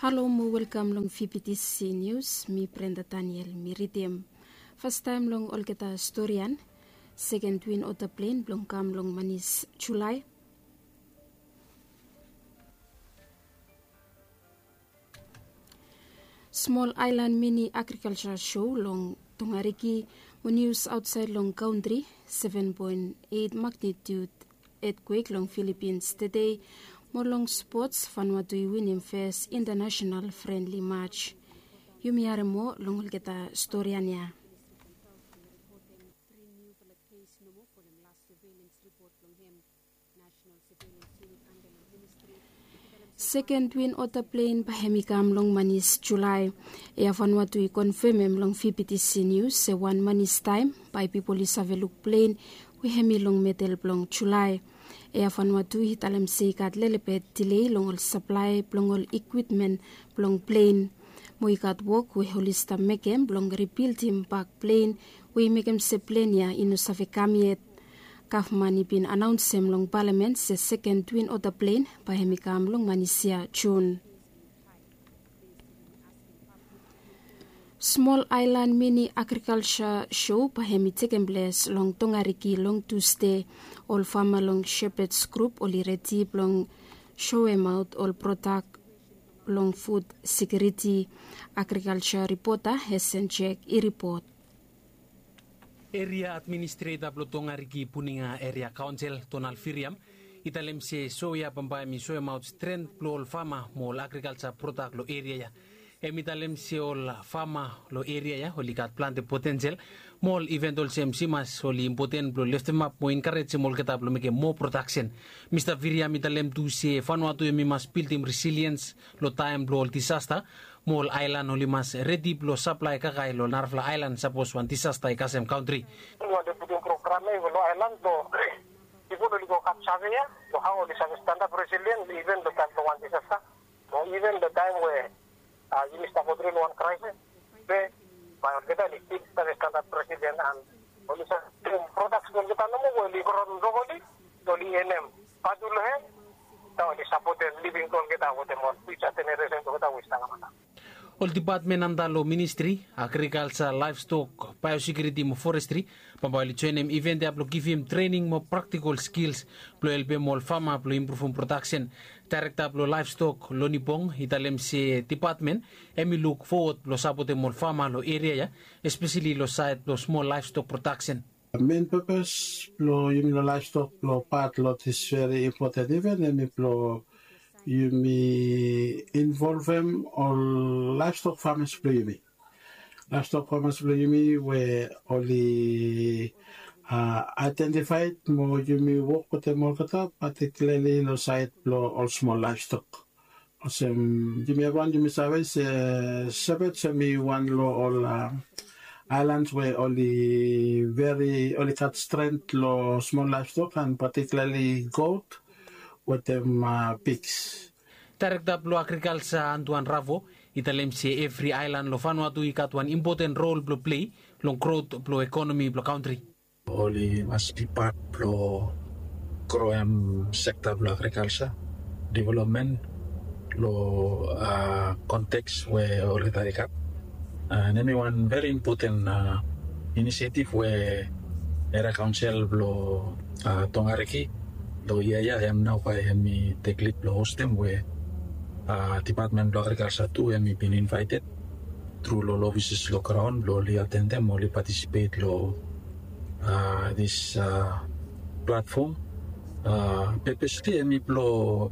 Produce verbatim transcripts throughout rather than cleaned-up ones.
Halo mo welkam long fibitisi nius. Mi Brenda Daniel mi ridim. Fastaem long olgeta storian. Seken twin ota plen blong kam long manis Julai. Smol aelan mini agrikalsa sho long Tongariki. Mo nius aotsaed long kantri. Seven poen eit magnitut etkwek long Filipins tede. Mo long spots, Vanuatu i winim fes intanasenal frenli mats. Yumi harem moa long olgeta storian ya. Seken twin ota plen bae hem i kam long manis Julai. Ea Vanuatu i konfemem long fibitisi nius se wan manistaem bae pipol i save luk plen we hem i long medel blong Julai. Ea Vanuatu i talem se i gat lelebet dilei long ol saplae blong ol ikwipmen blong plen. Mo i gat wok we oli stap mekem blong ribildim bak plen we i mekem se plen ya i no save kam yet. Gavman i bin anaonsem long palamen se seken twin ota plen bae hem i kam long manis ya Jun. Smol aelan mini agrikalsa sho bae hem i tekem ples long Tongariki long Tusde. Ol fama long Shepherds Group oli redi blong shoemaot ol prodak long fud sekiuriti. Agrikalsa ripota Hesen Jek i ripot. Eria administreta blong Tongariki Puninga Eria Kaonsel Donald Firiam i talem se so ya bambae hem i soemaot stren blong ol fama mo ol agrikalsa prodak long eria ya. Hem i talem se ol fama long eria ya oli gat plante potensel mo ol iven olsem simas oli impoten blong leftemap mo enkarejem olgeta blong mekem moa prodaksen. Mista Firiam i talem tu se Vanuatu hem i mas bildim resiliens long taem blong ol disasta mo ol aelan oli mas redi blong saplae kakae long narafala aelan sapos wan disasta i kasem kantri. Oli putum program ya i go long aelan blong pipol oli go gat save ya long hao oli save stanap resilien iven long taem blong wan disasta. Mo iven long taem we yumi stap go tru long wan kraesis be bae olgeta oli stil save stanap resilien an oli save prodaks blong olgeta nomo we oli gro long oli oli enem vatu long hem. Taem oli sapotem living blong olgeta wetem ol fiuja jeneresen blong olgeta we i stap kamata. Ol dipatmen antap long ministri agrikalsa, laevstok, baeosekiuriti mo forestri bambae oli joenem iven ya blong givim trening mo praktikol skils blong helpem ol fama blong impruvum prodaksen. Daerekta blong laevstok Loni Bong i talem se dipatmen hem i luk fowod blong sapotem ol fama long eria ya, espeseli long saed blong smol laevstok prodaksen. Men pepes blong yumi long laevstok blong pat long dis veri impoten iven hem i blong yumi involvem ol laevstok famas blong yumi. Laevstok famas blong yumi we oli aedentifaed mo yumi wok wetem olgeta patikilarli long saed blong ol smol laevstok. Olsem yumi evriwan yumi save se Shepherds hem i wan long ol aelans we oli veri oli gat stren long smol laevstok an patikilarli got wetem piks. Daerekta blong agrikalsa Antuan Ravo i talem se evri aelan long Vanuatu i gat wan impoten rol blong plei long grot blong ekonomi blong kantri. Oli mas bi pat blong groem sekta blong agrikalsa developmen long konteks we olgeta i gat. An hem i wan veri impoten inisiativ we eria kaonsel blong Tongariki long yia ya hem nao bae hem i tek lid blong hostem we dipatmen blong agrikalsa tu hem i bin invaeted tru long ol ofises long graon blong oli atendem oli patisipet long dis platfom. Pepesli hem i blong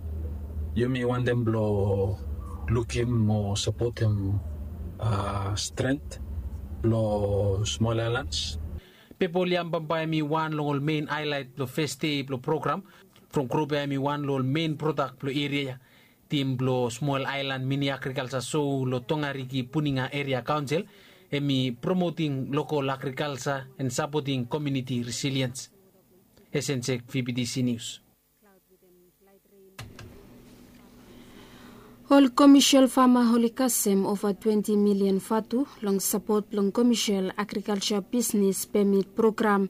yumi wantem blong lukim mo sapotem stren blong smol aelans. Pepa oli yam bambae hem i wan long ol men aelaet blong fes dei blong program. From grup ya hem i wan long ol men prodak blong eria ya. Tim blong smol aelan mini agrikalsa sou long Tongariki Puninga Eria Kaonsel hem i promoting lokol agrikalsa an sapoting komiuniti resiliens. Esensek fibitisi nius. Ol komesial fama oli kasem ova twenti milian vatu long sapot blong komesial agrikalsa bisnes pemit program.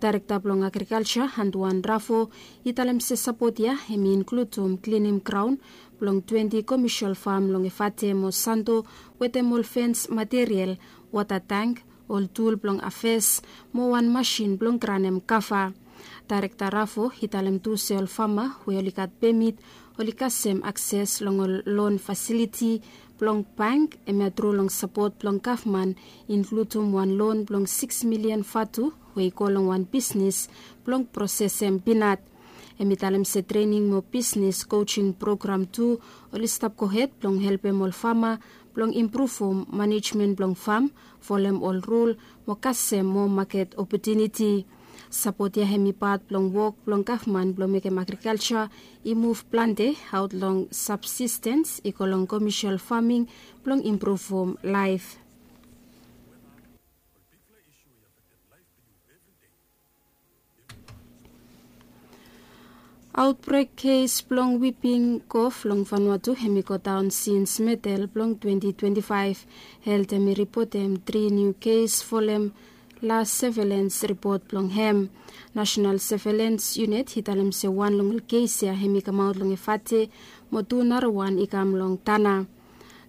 Daerekta blong agrikalsa Antuan Ravo i talem se sapot ya hem i inkludum klinim graon blong twenti komesial fam long Efate mo Santo, wetem ol fens material, wota tang, ol tul blong afes, mo wan masin blong granem kava. Daerekta Rafo i talem tu se ol fama we oli gat pemit oli kasem akses long ol lon fasiliti blong bank, hemia tru long sapot blong gavman, inkludim wan lon blong sikis milian vatu we i go long wan bisnis blong prosesem pinat. Hem i talem se trening mo bisnis kojing program tu oli stap gohed blong helpem ol fama blong impruvum manejmen blong fam, folem ol rul, mo kasem moa maket opotuniti. Sapot ya hem i pat blong wok blong gavman blong mekem agrikalja i muv plante aot long sabsistens i go long komesial faming blong impruvum laef. Aotbrek kes blong wiping kof long Vanuatu hem i godaon sins medel blong twenti twenti faef. Helt hem i ripotem tri niu kes folem las sevelens ripot blong hem. Nasenal Sevelens Yunit i talem se wan long ol kes ya hem i kamaot long Efate, mo tu narawan i kam long Tana.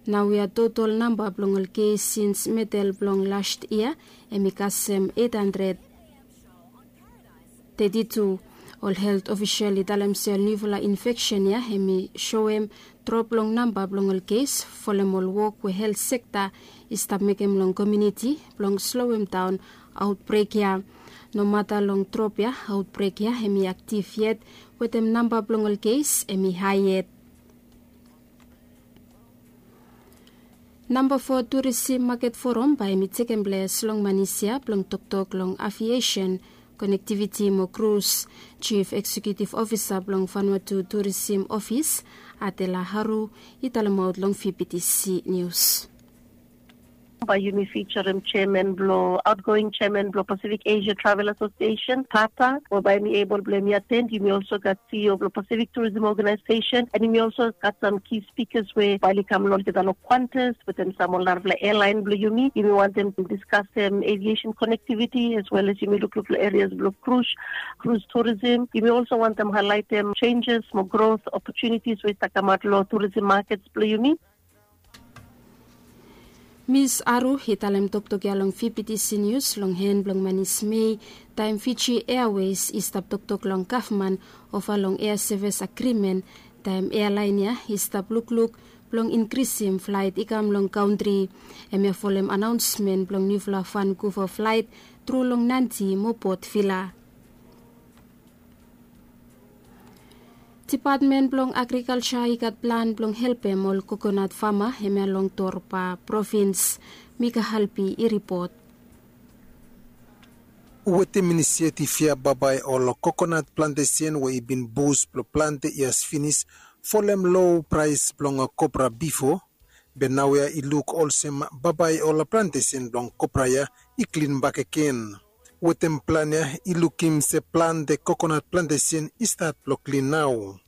Naoia totol namba blong ol kes sins medel blong las yia hem i kasem eit handred teti tu. Ol helt ofisel i talem se ol niufala infeksen ya hem i soem drop long namba blong ol kes folem ol wok we helt sekta i stap mekem long komuniti blong sloem daon aotbrek ya. Nomata long drop ya, aotbrek ya hem i aktiv yet, wetem namba blong ol kes hem i hae yet. Namba fo turisim maket foram bae hem i tekem ples long Manis ya blong toktok long aviesen, konektiviti mo krus. Jif Eksekiutiv Ofisa blong Vanuatu Turisim Ofis, Adela Haru, i talemaot long VBTC Nius. Bae yumi fijarem jeaman blong aotgoing jeaman blong Pasifik Asia Travel Asosiesen, PATA, we bae hem i ebol blong hem i aten. Yumi olso gat CEO blong Pasifik Turism Ogenaesesen, and yumi olso gat sam ki spikas we bae oli kam long olgeta long Qantas wetem sam ol narafala ealaen blong yumi. Yumi wantem diskasem aviesen konektiviti as well as yumi lukluk long erias blong krus, krus turisim. Yumi olso wantem haelaetem jenjes mo grot opotunitis we i stap kamaot long turisim makets blong yumi. Mis Aru i talem toktok ya long VBTC Nius long hen blong Manis Mei, taem Fiji Airways i stap toktok long gavman ova long ea sevis agrimen, taem ealaen ya i stap lukluk blong inkrisim flaet i kam long kantri. Hemia folem anaonsmen blong niufala Vankuva flaet tru long Nadi mo Port Vila. Dipatmen blong Agrikalja i gat plan blong helpem ol kokonat fama hemia long Torba provins. Mika Halpi i ripot. Wetem inisiatif ya bambae ol kokonat plantesen we i bin bus blong plante yias finis folem lo praes blong kopra bifo, be naoia i luk olsem bambae ol plantesen blong kopra ya i klin bakegen. Wetem plan ya i lukim se plante kokonat plantesen i stat blong klin nao.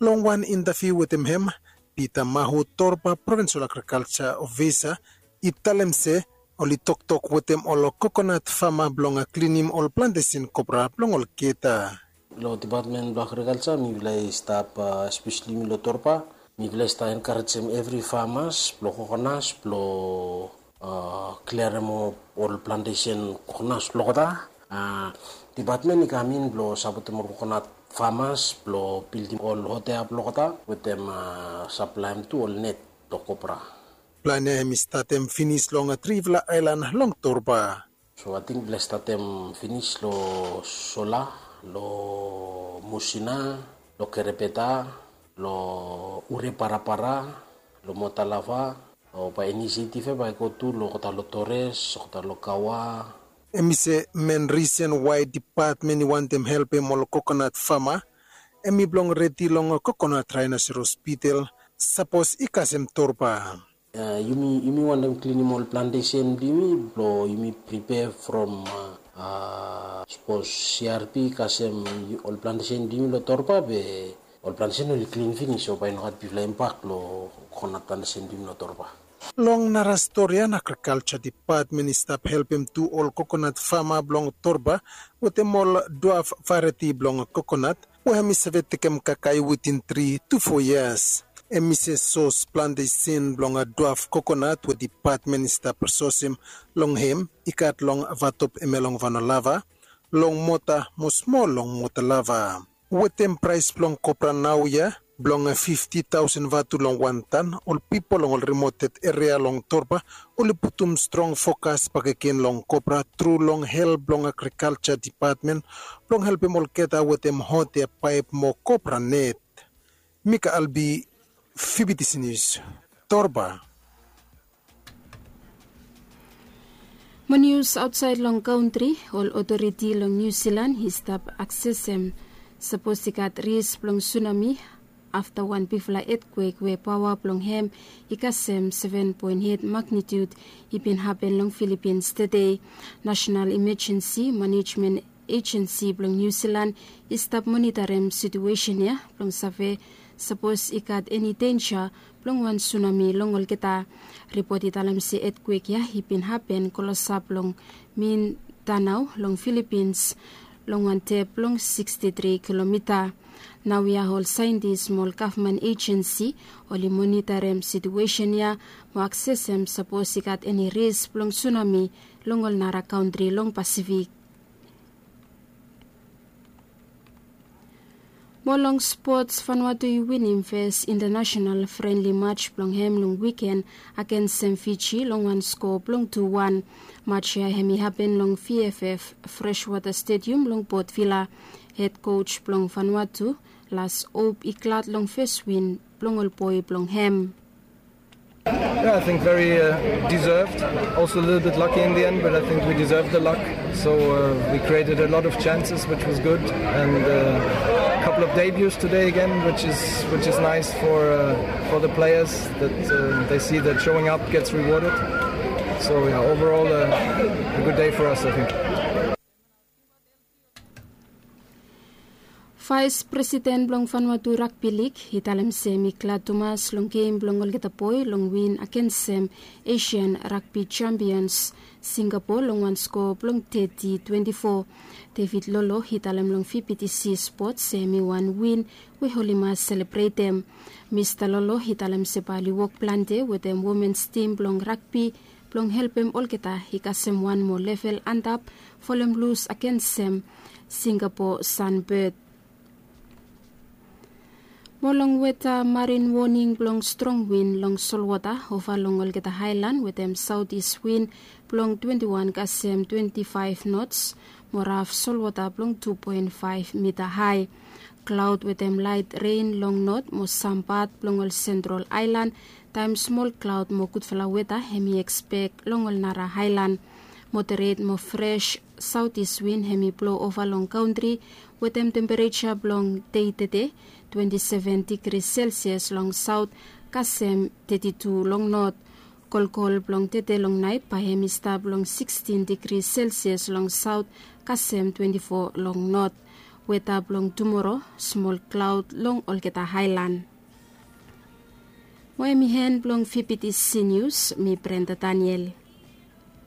Long wan intaviu wetem hem, Pita Mahu, Torba provinsol agrikalja ofisa, i talem se oli toktok wetem ol kokonat fama blong klinim ol plantesen kopra blong olgeta. Long dipatmen blong agrikalja mifala i stap, espeseli yumi long Torba, mifala i stap enkarejem evri famas blong kokonas blong kliarem ol plantesen kokonas blong olgeta. Dipatmen i kam in blong sapotem ol kokonat famas blong bildim ol hotea blong olgeta wetem saplaem tu ol net blong kopra. Plan ya hem i statem finis long trifala aelan long Torba. So ating mifala i statem finis long Sola, long Musina, long Kerebeta, long Ure Parapara, long Motalava, o bae inisiatif ya bae i go tu long olgeta long Tores, olgeta long Kawa. Hem i se men risen wae dipatmen i wantem helpem ol kokonat fama hem i blong redi long kokonat raenoseros bitel sapos i kasem Torba. Yumi, yumi wantem klinim ol plantesen blong yumi blong yumi pripea from sapos CRP i kasem ol plantesen blong yumi long Torba be ol plantesen oli klin finis, so bae i no gat bigfala impak long kokonat plantesen blong yumi long Torba. Long nara stori ya, agrikalja dipatmen i stap helpem tu ol kokonat fama blong Torba wetem ol dwaf varieti blong kokonat we hem i save tekem kakae witin tri tu fo yias. Em i se sos plante sin blong duaf kokonat we dipatmen i stap sosim long hem i gat long vatop eme long vanolava, long mota mo smol long motalava. Wetem praes blong kopra naoia blong fifti taosen vatu long wan tan, ol pipol long ol rimoted eria long Torba oli putum strong fokas bakegen long kopra tru long help blong agrikalja dipatmen blong helpem olgeta wetem hotea paep mo kopra net. Mika Albi, Fibitisi Nius, Torba. Mo nius aotsaed long kantri, ol otoriti long Niu Silan i stap aksesem sapos i gat ris blong sunami afta wan bigfala etkwek we paoa blong hem i kasem seven poen et magnitiud i bin hapen long Filipins tede. Nasenal Imajensi Manejmen Ejensi blong Niu Silan i stap monitarem situesen ya blong save sapos i gat eni denja blong wan sunami long olgeta. Ripot i talem se etkwek ya i bin hapen klosap long Mindanao long Filipins long wan dep blong siksti tri kilomita. Naoia ol saentis mo ol gavman ejensi oli monitarem situesen ya mo aksesem sapos i gat eni ris blong sunami long ol nara kantri long Pasifik. Mo long spots, Vanuatu i winim fes intanasenal frenli maj blong hem long wiken agensem Fiji long wan skoa blong tu wan. Maj ya hem i hapen long V F F Freshwater Stadium long Port Vila. Hed koj blong Vanuatu, Lars Hope, i glad long fes win blong ol boe blong hem. Yeah, I think very uh, deserved. Also a little bit lucky in the end, but I think we deserved the luck. So uh, we created a lot of chances, which was good, and uh, a couple of debuts today again, which is which is nice for uh, for the players that uh, they see that showing up gets rewarded. So yeah, overall uh, a good day for us, I think. Vaes presiden blong Vanuatu Ragbi Lig i talem se hem i glad tumas long gem blong olgeta boe long win agensem Asian Ragbi Champions Singapore long wan skoa blong teti twenti fo. David Lolo i talem long V B T C Sports se hem i wan win we oli mas selebretem. Mista Lolo i talem se bae oli wok plante wetem womens tim blong ragbi blong helpem olgeta i kasem wan moa level antap folem lus agensem Singapore Sunbird. Mo long weta, marin woning blong strong win long solwota ova long olgeta haelan wetem saotis win blong twenti wan kasem twenti faef nots mo raf solwota blong tu poen faef mita hae. Klaod wetem laet ren long not mo sam pat blong ol sentrol aelan, taem smol klaod mo gudfala weta hem i ekspek long ol nara aelan. Moderet mo fres saotis win hem i blo ova long kantri wetem tempereja blong dei tede twenti seven digri selsias long saot kasem teti tu long not. Kolkol blong tede long naet bae hem i stap long sikstin digri selsias long saot kasem twenti fo long not. Weta blong tumoro, smol klaod long olgeta aelan. Mo hem i en blong V B T C Nius, mi Brenda Daniel.